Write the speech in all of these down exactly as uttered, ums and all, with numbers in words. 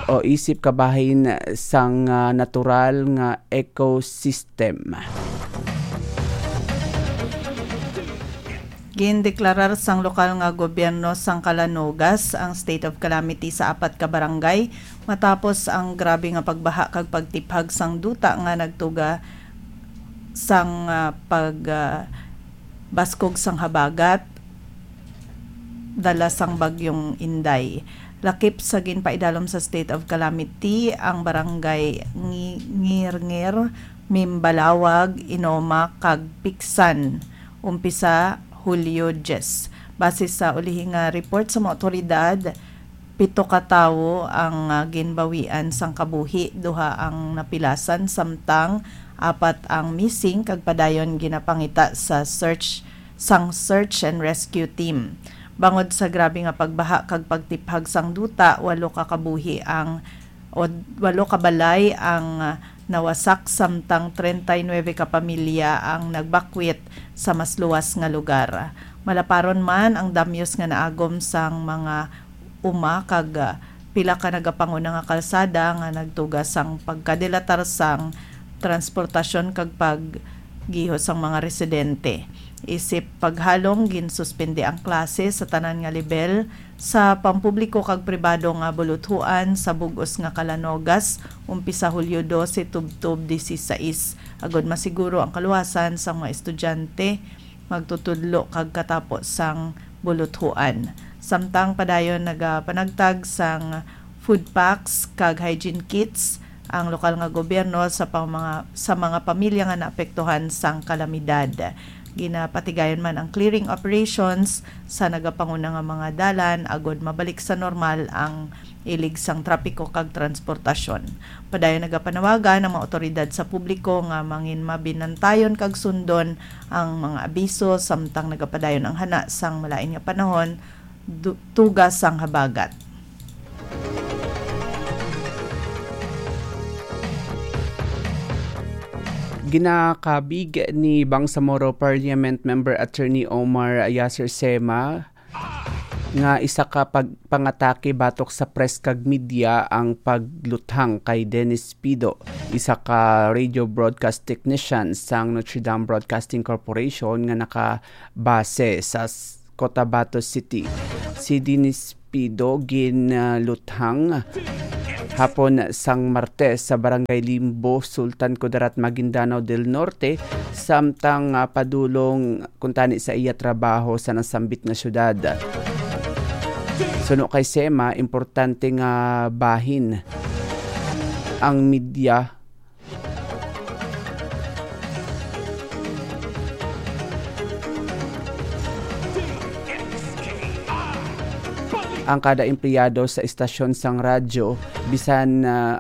o isip kabahin sang, ah, natural nga ecosystem. Gindeklarar sang lokal nga gobyerno sang Calanogas ang state of calamity sa apat ka barangay matapos ang grabe nga pagbaha kag pagtiphag sang duta nga nagtuga sang, ah, pag, ah, baskog sang habagat dala sang Bagyong Inday. Lakip sa ginpaidalom sa state of calamity ang barangay Ngi-, Ngirngir, Mimbalawag, Inoma, kag Piksan, umpisa Hulyo diyes. Base sa ulihi nga report sa mga awtoridad, pito ka tawo ang, ah, ginbawian sang kabuhi, duha ang napilasan, samtang apat ang missing kag padayon ginapangita sa search sang search and rescue team. Bangod sa grabe nga pagbaha kag pagtiphag sang duta, walo ka kabuhi ang, o walo ka balay ang, ah, nawasak, samtang treinta y nueve ka pamilya ang nagbakwit sa mas luwas nga lugar. Malaparon man ang damyos nga naagom sang mga uma kag, ah, pila ka nagapanguna nga kalsada nga nagtuga sang pagkadilatar sang transportasyon kag paggiho sang mga residente. Isip paghalong, ginsuspende ang klase sa tanan nga lebel sa pampubliko kag pribado nga buluthuan sa bug-os nga Calanogas, umpisa Hulyo dose tubtob disisais, agud masiguro ang kaluwasan sang mga estudyante, magtutudlo kag katapo sang buluthuan. Samtang padayon nagapanagtag sang food packs kag hygiene kits ang lokal nga gobyerno sa pang-, mga, sa mga pamilya nga naapektuhan sang kalamidad. Ginapatigayon man ang clearing operations sa nagapanguna nga mga dalan agud mabalik sa normal ang ilig sang trapiko kag transportasyon. Padayon nagapanawagan ang mga awtoridad sa publiko nga mangin mabinantayon kag sundon ang mga abiso, samtang nagapadayon ang hana sang malain nga panahon, du-, tuga sang habagat. Ginakabig ni Bangsamoro Parliament Member Attorney Omar Yasir Sema nga isa ka pag-, pangatake batok sa press kag media ang pagluthang kay Dennis Pido, isa ka radio broadcast technician sang Notre Dame Broadcasting Corporation nga nakabase sa s-, Cotabato City. Si Dennis Pido ginluthang hapon sang Martes sa Barangay Limbo, Sultan Kudarat, Maguindanao del Norte, samtang, ah, padulong kuntani sa iya trabaho sa nasambit nga syudad. Suno kay Sema, importante nga bahin ang media. Ang kada empleyado sa istasyon sang radyo, bisan, ah,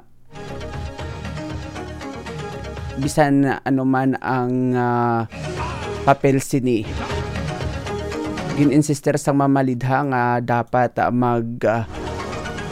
bisan ano man ang, ah, papel sini. Gin-insister sang mamalidha nga dapat, ah, mag, ah,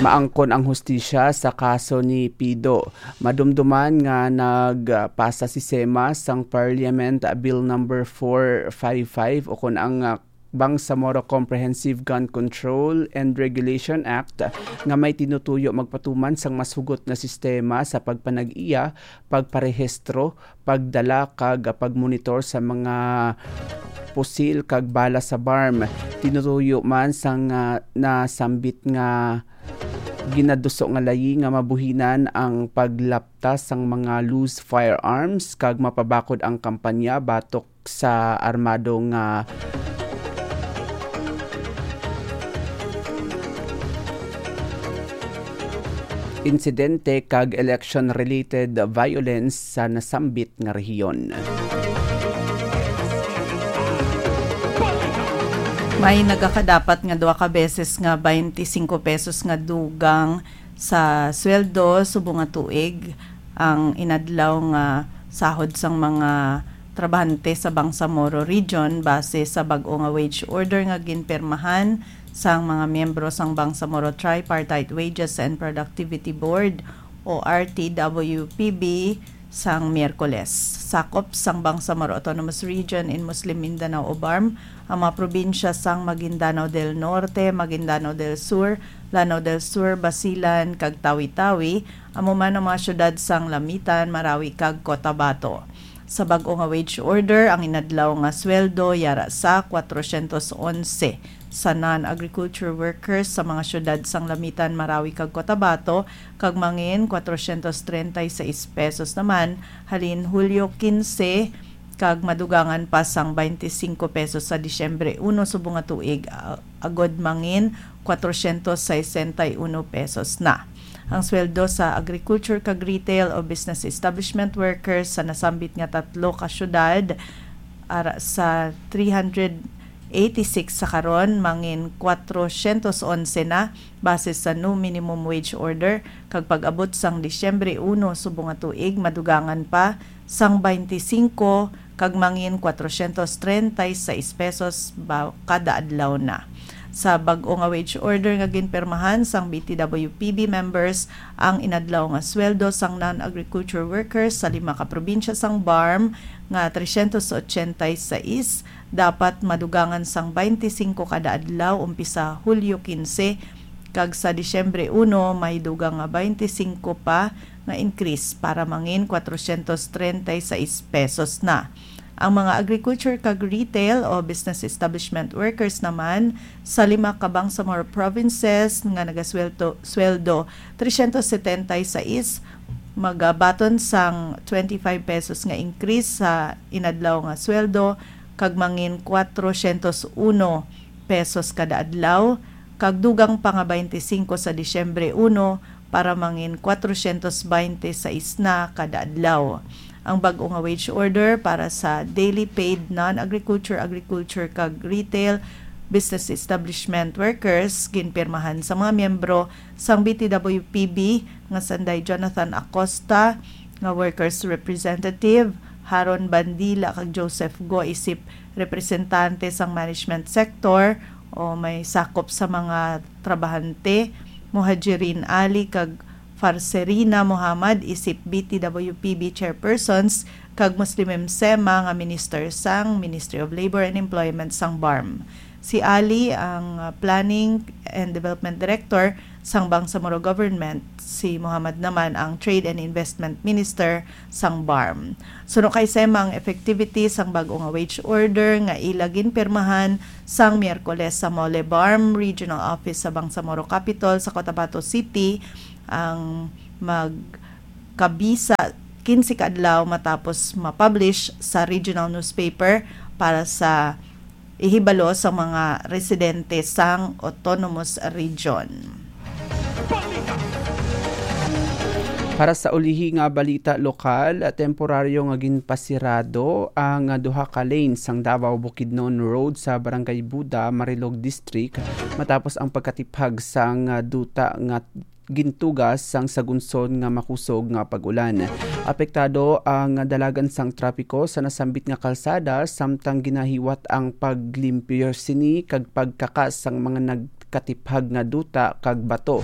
maangkon ang hustisya sa kaso ni Pido. Madumduman nga nagpasa si Sema sang Parliament Bill Number four five five, ukon ang, ah, Bangsamoro Comprehensive Gun Control and Regulation Act, nga may tinutuyo magpatuman sang mas hugot nga sistema sa pagpanag-iya, pagparehistro, pagdala, kag pagmonitor sa mga pusil kag bala sa BARMM. Tinutuyo man sang, ah, nasambit nga ginaduso nga layi nga mabuhinan ang paglapta sang mga loose firearms kag mapabakod ang kampanya batok sa armado nga insidente kag election-related violence sa nasambit nga rehiyon. May nagakadapat nga duha ka beses nga twenty-five pesos nga dugang sa sweldo subong nga tuig ang inadlaw nga sahod sang mga trabahante sa Bangsamoro Region base sa bag-o nga wage order nga ginpirmahan sang mga miyembro sang Bangsamoro Tripartite Wages and Productivity Board o R T W P B sang Miyerkules. Sakop sang Bangsamoro Autonomous Region in Muslim Mindanao o BARMM ang mga probinsya sang Maguindanao del Norte, Maguindanao del Sur, Lanao del Sur, Basilan, kag Tawi-Tawi, amo man ang mga syudad sang Lamitan, Marawi, kag Cotabato. Sa bag-o nga wage order, ang inadlaw nga sweldo yara sa kwatrosyentos onse sa non-agriculture workers sa mga syudad sang Lamitan, Marawi, kag Cotabato, kag mangin kwatrosyentos treinta y seis pesos naman halin Hulyo kinse, kag madugangan pa sang baynte singko pesos sa Disyembre uno subong nga tuig, a-, agod mangin kwatrosyentos sesenta y uno pesos na. Ang sweldo sa agriculture kag retail o business establishment workers sa nasambit nga tatlo ka syudad, ara sa three hundred eighty-six sa karon, mangin kwatrosyentos onse na, base sa new minimum wage order, kag pag-abot sang Disyembre uno subong nga tuig, madugangan pa sang baynte singko kag mangin kwatrosyentos treinta y seis pesos ba kada adlaw na. Sa bag-o nga wage order nga ginpirmahan sang B T W P B members, ang inadlaw nga sweldo sang non-agriculture workers sa lima ka probinsya sang BARMM nga tresyentos ochenta y seis dapat madugangan sang baynte singko kada adlaw umpisa Hulyo kinse, kag sa Disyembre uno may dugang nga baynte singko pa nga increase para mangin kwatrosyentos treinta y seis pesos na. Ang mga agriculture kag retail o business establishment workers naman sa lima ka Bangsamoro provinces nga nagasweldo, sweldo tresyentos setenta y seis, magabaton sang twenty-five pesos nga increase sa inadlaw nga sweldo, kag mangin kwatrosyentos uno pesos kada adlaw, kag dugang pa nga baynte singko sa Disyembre uno para mangin kwatrosyentos baynte sais na kada adlaw. Ang bag-o nga wage order para sa daily paid non-agriculture, agriculture, kag retail business establishment workers ginpirmahan sa mga miyembro sang B T W P B nga sanday Jonathan Acosta nga workers representative, Haron Bandila kag Joseph Go isip representante sang management sector o may sakop sa mga trabahante, Muhajirin Ali kag Farserina Muhammad isip B T W P B chairpersons, kag Muslimim Sema nga minister sang Ministry of Labor and Employment sang BARMM. Si Ali ang, uh, Planning and Development Director sang Bangsamoro Government, si Muhammad naman ang Trade and Investment Minister sang BARMM. Suno kay Sema, ang effectivity sang bag-o nga wage order nga ila ginpirmahan sang Miyerkules sa Mole BARMM Regional Office sa Bangsamoro Capitol sa Cotabato City ang magkabisa kinse ka adlaw matapos ma-publish sa regional newspaper para sa ihibalo sa mga residente sang Autonomous Region. Para sa ulihi nga balita lokal, temporaryo nga ginpasirado ang duha ka lane sang Davao Bukidnon Road sa Barangay Buda, Marilog District, matapos ang pagkatiphag sang duta nga gintugas sang sagunson nga makusog nga pag-ulan. Apektado ang dalagan sang trapiko sa nasambit nga kalsada, samtang ginahiwat ang paglimpyo sini kag pagkakas sang mga nagkatiphag nga duta kag bato.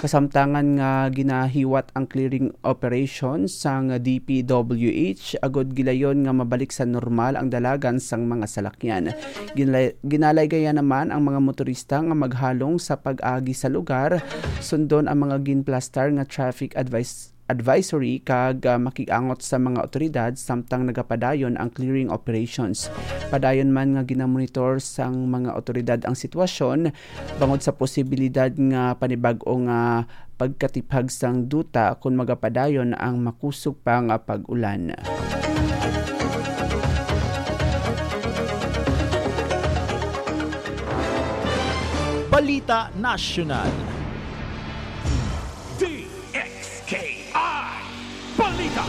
Kasamtangan nga ginahiwat ang clearing operation sang D P W H agud gilayon nga mabalik sa normal ang dalagan sang mga salakyan. Ginla-, ginalaygayan naman ang mga motorista nga maghalong sa pag-agi sa lugar, sundon ang mga ginplastar nga traffic advice, advisory kag, ah, makig-angot sa mga awtoridad samtang nagapadayon ang clearing operations. Padayon man nga ginamonitor sang mga awtoridad ang sitwasyon bangod sa posibilidad nga panibag-o nga pagkatiphag sang duta kon magapadayon ang makusog pa nga pag-ulan. Balita Nasyonal. D X K I Balita.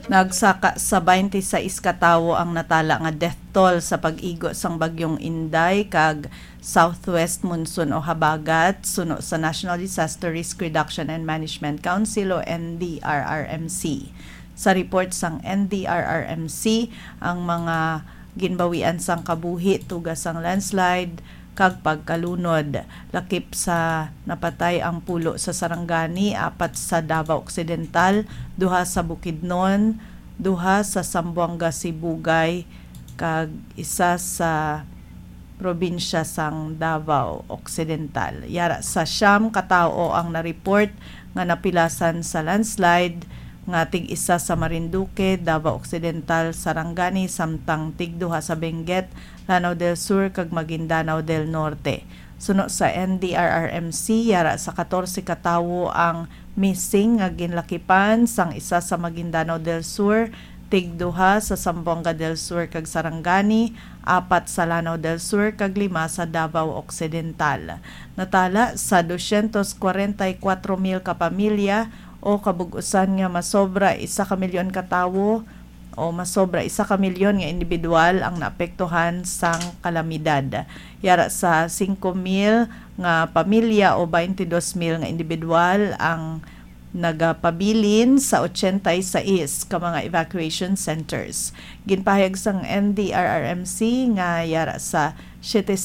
Nagsaka sa baynte sais ka tawo ang natala nga death toll sa pag-igo sang Bagyong Inday kag southwest monsoon o habagat, suno sa National Disaster Risk Reduction and Management Council o N D R R M C. Sa report sang N D R R M C, ang mga ginbawian sang kabuhi, tuga sang landslide, kag pagkalunod. Lakip sa napatay ang pulo sa Sarangani, apat sa Davao Occidental, duha sa Bukidnon, duha sa Zamboanga Sibugay, kag isa sa probinsya sang Davao Occidental. Yara sa siyam ka tawo ang na-report nga napilasan sa landslide, nga tig-isa sa Marinduque, Davao Occidental, Sarangani, samtang tigduha sa Benguet, Lanao del Sur, kag Maguindanao del Norte. Suno sa N D R R M C, yara sa katorse ka tawo ang missing nga ginlakipan, sang isa sa Maguindanao del Sur, tigduha sa Zamboanga del Sur kag Sarangani, apat sa Lanao del Sur, kag lima sa Davao Occidental. Natala sa dosyentos kwarenta y kuwatro mil ka pamilya, o kabug-usan nga masobra isa ka milyon ka tawo, o masobra isa ka milyon nga individual ang naapektuhan sang kalamidad. Yara sa singko mil nga pamilya o twenty-two mil nga individual ang nagapabilin sa ochenta y seis ka mga evacuation centers. Ginpahayag sang N D R R M C nga yara sa siyete,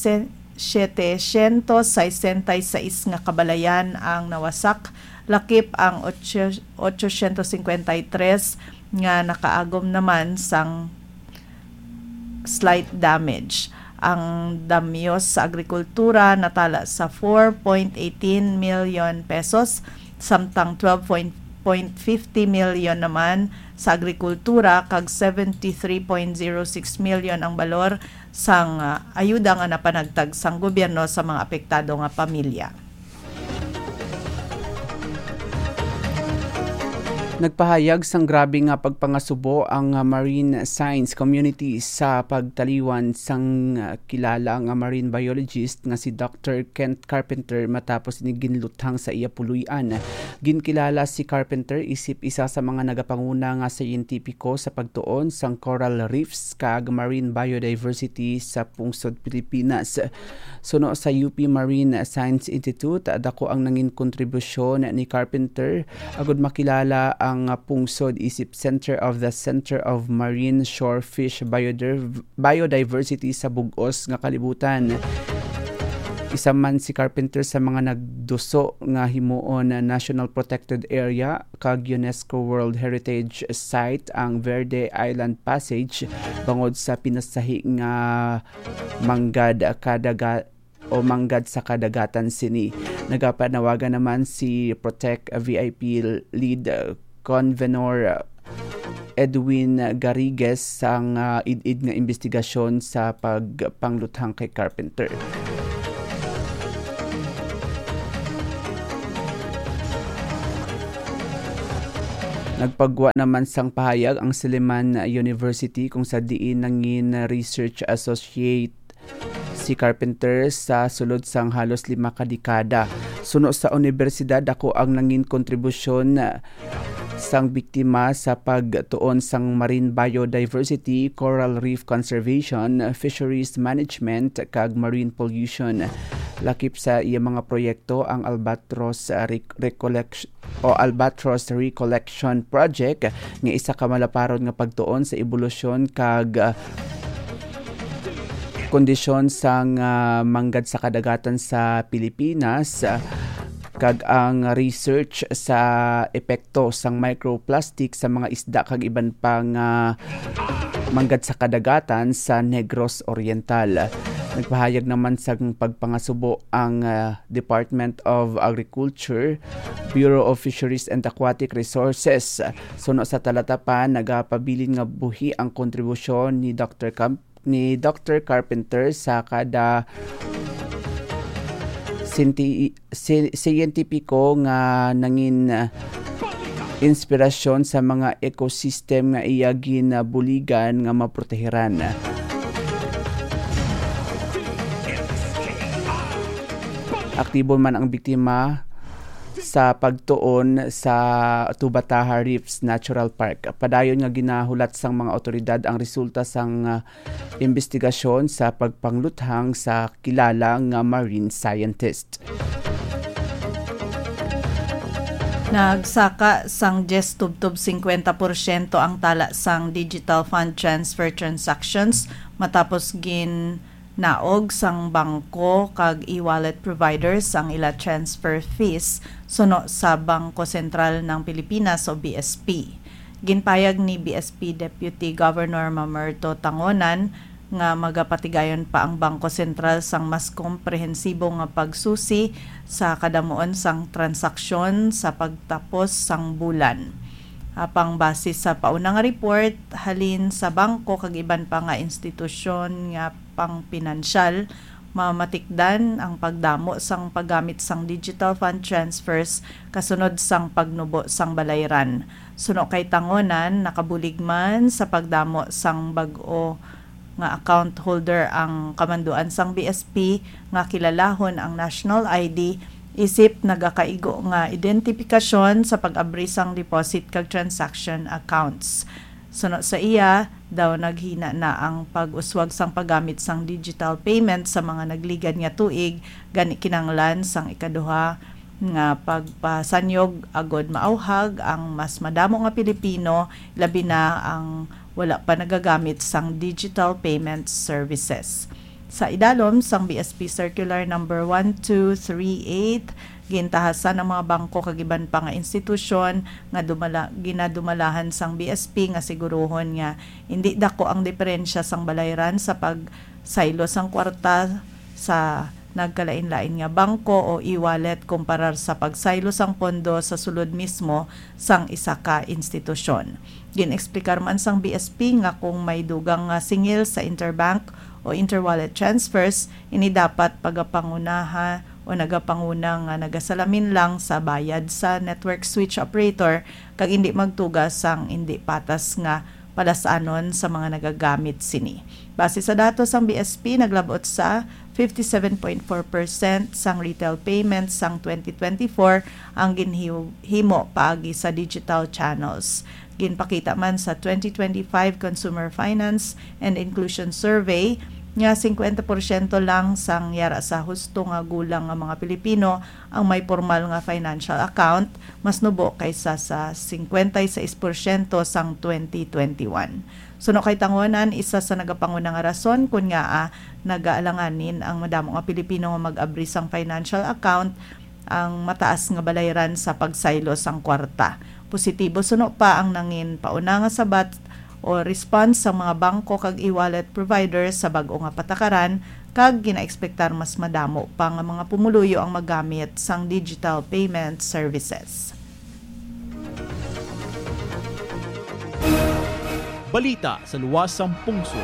setecientos sesenta y seis nga kabalayan ang nawasak, lakip ang ocho, ochocientos cincuenta y tres nga nakaagom naman sang slight damage. Ang damyos sa agrikultura natala sa four point eighteen million pesos, samtang twelve point fifty million naman sa agrikultura kag seventy-three point zero six million ang balor sang, ah, ayuda nga napanagtag sang gobyerno sa mga apektado nga pamilya. Nagpahayag sang grabe nga pagpangasubo ang, ah, marine science community sa pagtaliwan sang, ah, kilala nga marine biologist nga si Doctor Kent Carpenter matapos ini ginluthang sa iya puloy-an. Ginkilala si Carpenter isip isa sa mga nagapanguna nga siyentipiko sa pagtuon sang coral reefs kag marine biodiversity sa pungsod Pilipinas. Suno sa U P Marine Science Institute, dako ang nangin kontribusyon ni Carpenter agud makilala ang pungsod isip Center of the Center of Marine Shore Fish Bioder-, Biodiversity sa bug-os nga kalibutan. Isa man si Carpenter sa mga nagduso nga himuon na National Protected Area kag UNESCO World Heritage Site ang Verde Island Passage bangod sa pinasahi nga manggad kadaga-, o manggad sa kadagatan sini. Nagapanawagan naman si Protect V I P Lead Convenor Edwin Garrigues sang, ah, id-id nga imbestigasyon sa pagpangluthang kay Carpenter. Nagpagwa naman sang pahayag ang Suleiman University, kung sa diin nangin research associate si Carpenter sa sulod sang halos lima ka dekada. Suno sa unibersidad, dako ang nangin kontribusyon sang biktima sa pagtuon sang marine biodiversity, coral reef conservation, fisheries management, kag marine pollution. Lakip sa iya mga proyekto ang Albatross, ah, Rec-, Recollection o Albatross Recollection Project, nga isa ka malaparon nga pagtuon sa ebolusyon kag, ah, kondisyon sang, ah, manggad sa kadagatan sa Pilipinas, ah, kag ang research sa epekto sang microplastic sa mga isda kag iban pa nga manggad sa kadagatan sa Negros Oriental. Nagpahayag naman sang pagpangasubo ang, ah, Department of Agriculture, Bureau of Fisheries and Aquatic Resources. Suno sa talatapan, nagapabilin nga buhi ang kontribusyon ni Doctor Camp-, ni Doctor Carpenter sa kada sinti-, si-, siyentipiko nga nangin, ah, inspirasyon sa mga ecosystem nga iya ginabuligan nga maprotehiran. Aktibo man ang biktima sa pagtuon sa Tubataha Reefs Natural Park. Padayon nga ginahulat sang mga awtoridad ang resulta sang, ah, imbestigasyon sa pagpangluthang sa kilala nga marine scientist. Nagsaka sang diyes tubtob singkwenta porsyento ang tala sang digital fund transfer transactions matapos gin Naog sang bangko kag e-wallet providers ang ila transfer fees suno sa Bangko Sentral ng Pilipinas o B S P. Ginpayag ni B S P Deputy Governor Mamerto Tangonan nga magapatigayon pa ang Bangko Sentral sang mas komprehensibo nga pagsusi sa kadamuon sang transaksyon sa pagtapos sang bulan. Apang base sa pauna nga report halin sa bangko kag iban pa nga institusyon nga pangpinansyal, mamatikdan ang pagdamo sang paggamit sang digital fund transfers kasunod sang pagnubo sang balayran. Suno kay Tangonan, nakabulig man sa pagdamo sang bag-o nga account holder ang kamanduan sang B S P nga kilalahon ang national I D, isip nagakaigo nga identifikasyon sa pag-abri sang deposit kag transaction accounts. Suno sa iya, daw naghina na ang pag-uswag sang paggamit sang digital payment sa mga nagligad nga tuig, gani kinahanglan sang ikaduha nga pagpasanyog agod maawhag ang mas madamo nga Pilipino, labi na ang wala pa nagagamit sang digital payment services. Sa idalom sang B S P Circular number one two three eight, gintahasan ang mga bangko kag iban pa nga institusyon nga dumala-, ginadumalahan sang B S P nga siguruhon nga indi dako ang diferensya sang balayran sa pagsaylo sang kwarta sa nagkalain-lain nga bangko o e-wallet kumparar sa pagsaylo sang pondo sa sulod mismo sang isa ka institusyon. Gin-eksplikar man sang B S P nga kung may dugang nga singil sa interbank o interwallet transfers, ini dapat pagapangunaha o nagapanguna nga nagasalamin lang sa bayad sa network switch operator kag indi magtuga sang indi patas nga palasanon sa mga nagagamit sini. Base sa datos sang B S P, naglabot sa fifty-seven point four percent sang retail payments sang twenty twenty-four ang ginhimo paagi sa digital channels. Ginpakita man sa twenty twenty-five Consumer Finance and Inclusion Survey nga singkwenta porsyento lang sang yara sa husto nga gulang nga mga Pilipino ang may pormal nga financial account, mas nubo kaysa sa singkwenta y seis porsyento sang twenty twenty-one. Suno kay Tangonan, isa sa nagapanguna nga rason kon ngaa nagaalanganin ang madamo nga Pilipino nga mag-abri sang financial account ang mataas nga balayran sa pagsaylo sang kwarta. Positibo suno pa ang nangin pauna nga sabat o response sang mga bangko kag e-wallet providers sa bag-o nga patakaran, kag ginaekspektar mas madamo pa nga mga pumuluyo ang magamit sang digital payment services. Balita sa luwas sang pungsod.